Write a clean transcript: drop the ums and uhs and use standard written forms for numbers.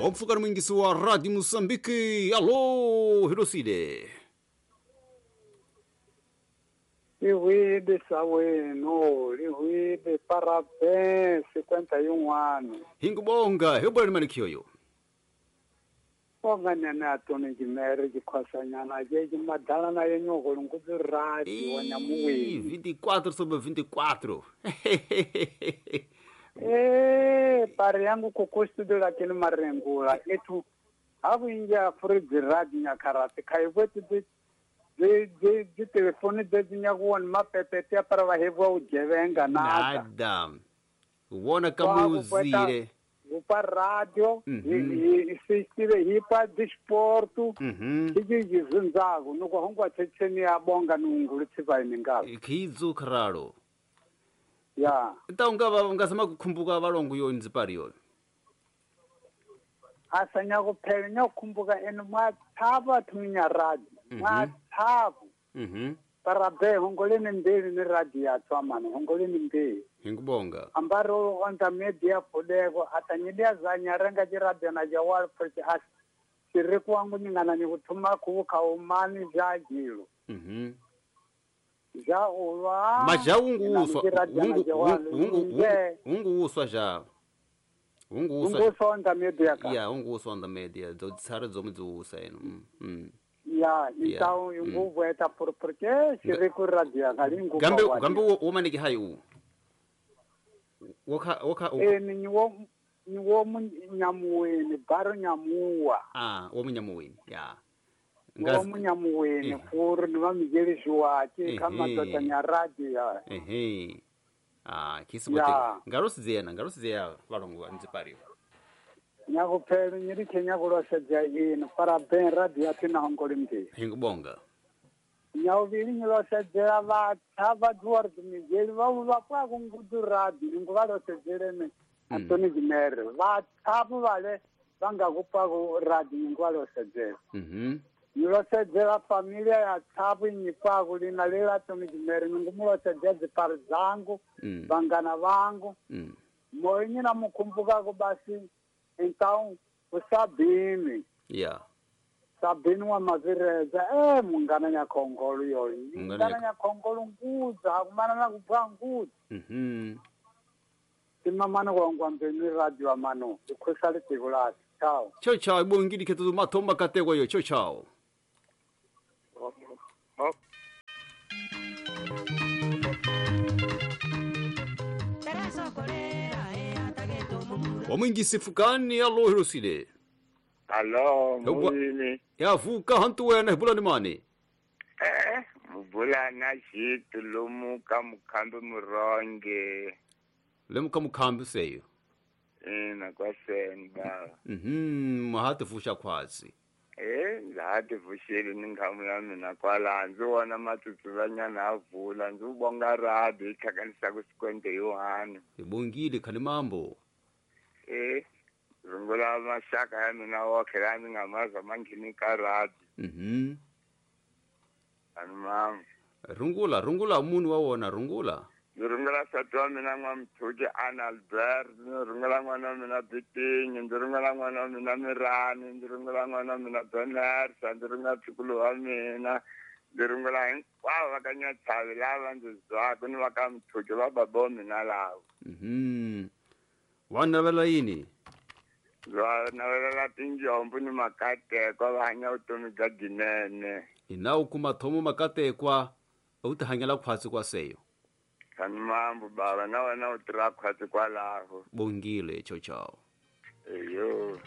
Wapfuka mwingisi wa Radio Mozambique. Alô, Hiroside. Lihuide saweno, lihuide parabéns, 51 anos. Hingubonga, eu manikioyo. Bonga nene atoni jimere jikhosanyana je madala na yenyoko lunguzi radio wa nyamuwini. 24 sobre 24. Pari yangu kukustudu lakini marengula etu habu inja fridge radio nyakarate kaiwetu de telefone de nyakuwa mapepete para vahevwa ujevenga nada. Wona kamuzire. Upa radio, isistive hipa disporto, ijizunzago nukuhongwa checheni abonga nungulu tsivainingalo. Kizu kralo. Ya. Então ngava ngasema kukhumbuka valongo yo nzipari yo. Asanya kuphela nyakukhumbuka ene mwathaba thunya radio. Mwathabu. Parabe hongoleni mbili ni radio ya tswamana hongoleni mbili. Hingubonga. Ambaro onda media podego atanyidia zanyarenga jiradio na jawal porque as siriku wangu nyingana ni kutuma kuuka umani jajilo. Ja ulwa. Maja unguuswa. Unguuswa ja. Unguuswa onda media ka. Ya unguuswa onda media. Zotsara zomuzuusa eno. Ya, então inguvu eta por porque siriku radio ngalingu. Gambe gambe womaniki hayu. Woka woka ni wo munyamuweni baro nyamuwa. Ah, wo munyamuweni. Ya. Wo munyamuweni furu ni vamijeli wake kama tota nyaradi ya. Ehe. Ah, kisibote. Ngarosidzena, ngarosidzea valongo nzipariwa. Nyakuphela nyiri Kenya kulosedza ino parabéns radio yatina hongoli mbi. Hingubonga. Nyawuvili nyilosedzela vatha vaduwari mijeli vavu vapwa kungudu radio nguvalosedzele Antoni Jimere vathapu vale vangakupa ku radio nguvalosedzela. Nyilosedzela familia ya thapu inyipaku lina lela Antoni Jimere ngumulosedzela dzipari zangu vangana vangu moyo nyina mukhumbukaku basi. Então o Sabine. Yeah. Sabine wa mavireza mungana nyakhongolo yoyi. Mungana nyakhongolo nguza akumana na kubwa nguza. Timamano kwangwambeni radio amano ikhosale tikulati. Ciao. Ciao ciao ibongili khetu mathoma katekwa yo ciao ciao. Wamwingisi fukani alo Hirosile. Alo, mwini. Ya vuka hantu wena bulani mani. Mubulana shitu lumuka mukhambi muronge. Lemuka mukhambi seyo. Ina kwaseni baba. Mahati fusha khwazi. Ndahati fushile ninghamu ya mina kwala ndzi wona matsutsuvanyana avula ndzi ubonga radio itlhakanisa ku sikwente yohani. Ibongile khani mambo. Rungula mashaka ya mina wokhe la ni nga maza manghini ka radio. Ani mama. Rungula rungula munhu wa wona rungula. Ndzi rungula nsati wa mina n'wamthuki Anna Albert, ndzi rungula n'wana wa mina Bitinyi, ndzi rungula n'wana wa mina Mirani, ndzi rungula n'wana wa mina Benersa, ndzi rungula ntukulu wa mina, ndzi rungula hinkwavo va ka Nyatshavi lava ndzi zwaka ni va ka Mthuki va baba wa mina lava. Wa navela yini? Va navelela tinjombo ni makatekwa va hanya vutomi bya dyinene. Ina u kuma thomo makatekwa u ti hanyela khwatsi kwa seyo. Khani mambo baba na wena u tirha khwatsi kwalaho. Bongile ciao ciao. Eyo.